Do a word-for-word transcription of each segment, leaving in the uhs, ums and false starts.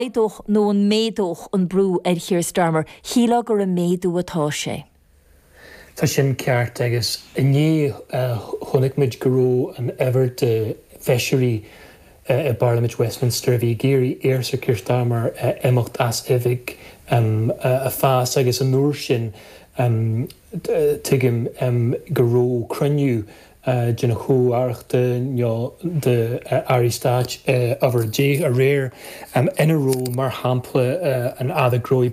Laghdódh nó an méadódh an brú ar Keir Starmer? Shílfeá gur ag méadú atá sé. Tá sin ceart agus inné chonaic muid go raibh an uimhir de feisirí i bParlaimint Westminster a bhí ag iarraidh ar Sir Keir Starmer imeacht as oifig ag fás agus an uair sin tuigim go raibh cruinniú de na Comh-Aireachta nó de Airí Stáit uimhir a deich aréir ina raibh, mar shampla, an Fheadóg Ghrói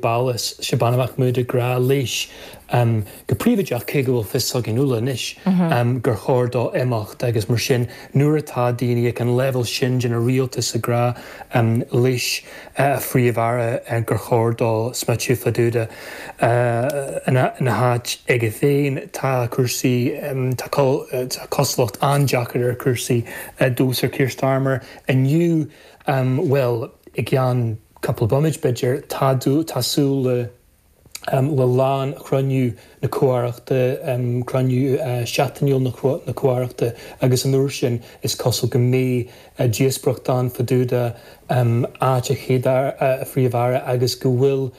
Shabana Mahmood ag rá leis go príobháideach, cé go bhfuil fios againn uile anois gur chóir dó imeacht agus mar sin nuair atá daoine ag an leibhéal sin den rialtas ag rá leis an Phríomh-Aire gur chóir dó smaoitiú fá dtaobh de ina háit aige féin. Tá cúrsaí, tá cosúlacht an-deacair ar chúrsaí do Sir Keir Starmer inniu, bhuel, i gceann cúpla bomaite b'fhéidir, tá tá súil le le lánchruinniú na Comh-Aireachta, cruinniú seachtainiúil na Comh-Aireachta agus an uair sin is cosúil go mbeidh díospóireacht ann fá dtaobh de áit an chéad Phríomh-Aire agus go bhfuil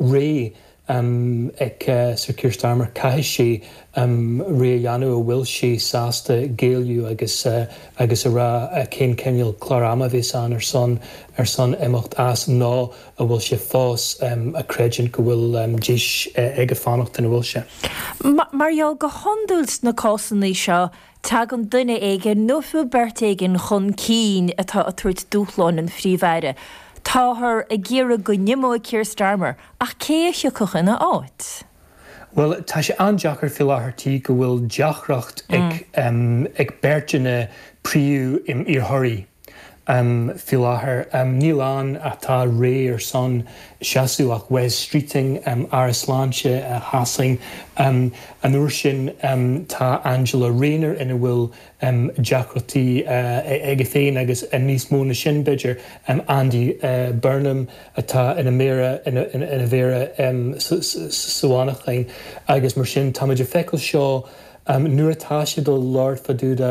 rogha ag Sir Keir Starmer, caithfidh sé rogha a dhéanamh an bhfuil sé sásta géilleadh agus agus a rá cén cineál clár ama a bheas ann ar son ar son imeacht as nó an bhfuil sé fós ag creidiúint go bhfuil deis aige fanacht ina bhfuil sé. Mar gheall go hiondúil sna cásanna seo tagann duine éigin nó fiú beirt éigin chun cinn atá ag tabhairt dúshlán an Phríomh-Aire. Táthar ag iarraidh go n-imeodh Keir Starmer, ach cé a thiocfadh ina áit? Bhuel, tá sé an-deacair faoi láthair tí go bhfuil deacracht ag ag beirt de na príomh-iarrthóirí faoi láthair. Níl ann atá réidh ar son seasamh ach Wes Streeting, Aire Sláinte Shasana. An uair sin tá Angela Rayner ina bhfuil deacrachtaí aige féin agus níos mó na sin b'fhéidir Andy Burnham atá ina méara ina mhéara sa Mhanchain agus mar sin táimid ag feiceáil seo nuair atá siad ag labhairt fá dtaobh de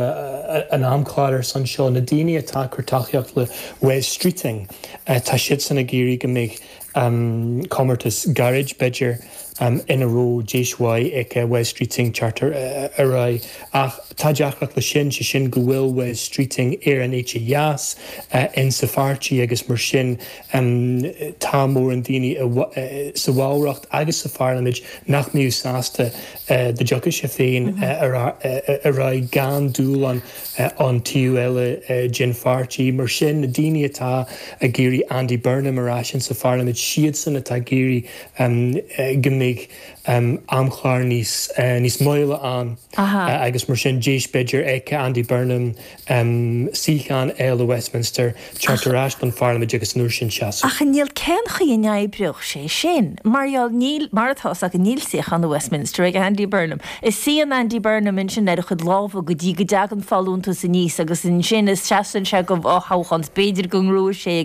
an amchlár ar son seo na daoine atá ag cur tacaíocht le Wes Streeting tá siadsan ag iarraidh go mbeidh comórtas gairid b'fhéidir ina raibh deis mhaith ag Wes Streeting teacht ar aghaidh ach tá deacracht leis sin sé sin go bhfuil Wes Streeting ar an eite dheas in sa pháirtí agus mar sin tá mórán daoine sa bhallraíocht agus sa pharlaimint nach mbeadh sásta dá dtiocfadh sé féin ar aghaidh gan dúshlán ón taobh eile den pháirtí. Mar sin na daoine atá ag iarraidh Andy Burnham ar ais sa pharlaimint siadsan atá ag iarraidh go mbeidh amchlár níos níos moille ann agus mar sin deis b'fhéidir ag Andy Burnham suíochán eile Westminster teacht ar ais don pharlaimint agus an uair sin seasamh. Ach níl cén chaoi a n-oibreodh sé sin, mar níl mar atá a níl suíochán Westminster ag Andy Burnham. Is suíonn Andy Burnham ansin ar a chuid lámha go dtí go dtagann folúntas aníos agus ansin is seasann sé go fothoghchán b'fhéidir go ngnóthóidh sé